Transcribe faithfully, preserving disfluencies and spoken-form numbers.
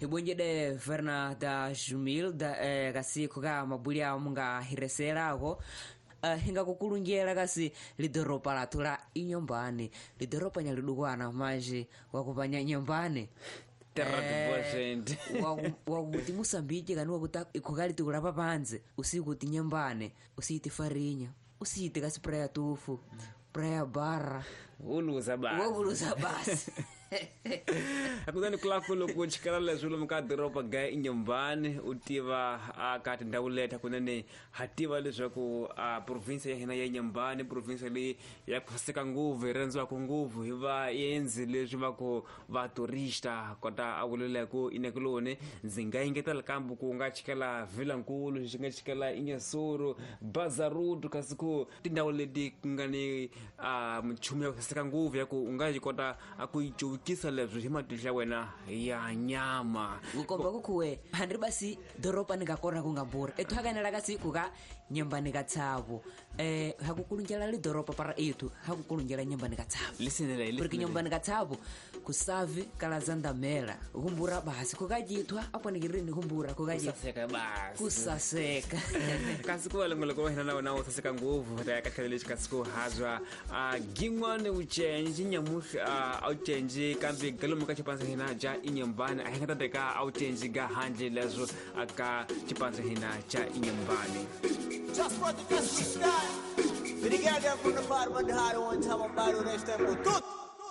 Hibonjede Verna da Jumil da eh, kasi kuka mabuli awo munga hireserako. Uh, hinga kukulunjela kasi lidoropa lathu la inyombani lidoropa nyalidukwana maji wakupanya nyombani Terra wakuti Moçambique kani wakuta ikhukali tikulapa panze usiku ti nyambane usiti farinya usiti kasi praia tufu praia barra uluza basi wokuluza basi akuzani kulakulo kuchikala leswi lomu ka doroba ga inyombani u tiva a ka tindhawu leti hakunene ha tiva leswaku a province ya hina ya Inhambane province leyi ya ku saseka ngopfu yi rhandziwaka ngopfu hi vaendzi leswi va ku va turista kota a vuleleku inekuloni ndzi nga engetela kambe ku nga chikela Vilankulu xi nga chikela Inhassoro Bazaruto kasi ku tindhawu leti ku nga ni a minchumu ya ku saseka ngopfu ya ku u nga yi kota a ku yi cuvukisa leswi hi matihlo ya wena ya nyama kukomba kukhuwe handri basi doropa ni ka kona ku nga mbura ethu hakanela kasi kuka nyambani ka tshavu eh hakukulunjela lidoropa para ethu hakukulunjela nyambani ka tshavu lisinele porque nyambani ka tshavu kusavi kala zandamela kumbura basi kukajithwa aponekirini kumbura kukajithwa kusaseka basi kusaseka kasi ku valongoloko wa hina na wona wu saseka ngopfu ta ya ka tlhelo lexi kasi ku hazwa a gin'wani wu cenci nyamuhla a wu cenci kambe galomu ka xipandzo hina ja Inhambane a hi nga ta teka a wu cenci ga handle leswo a ka xipandzo hina xa Inhambane. Just for the best we stand. For the girl them from the farm and the hard one time and bad next time. Tut!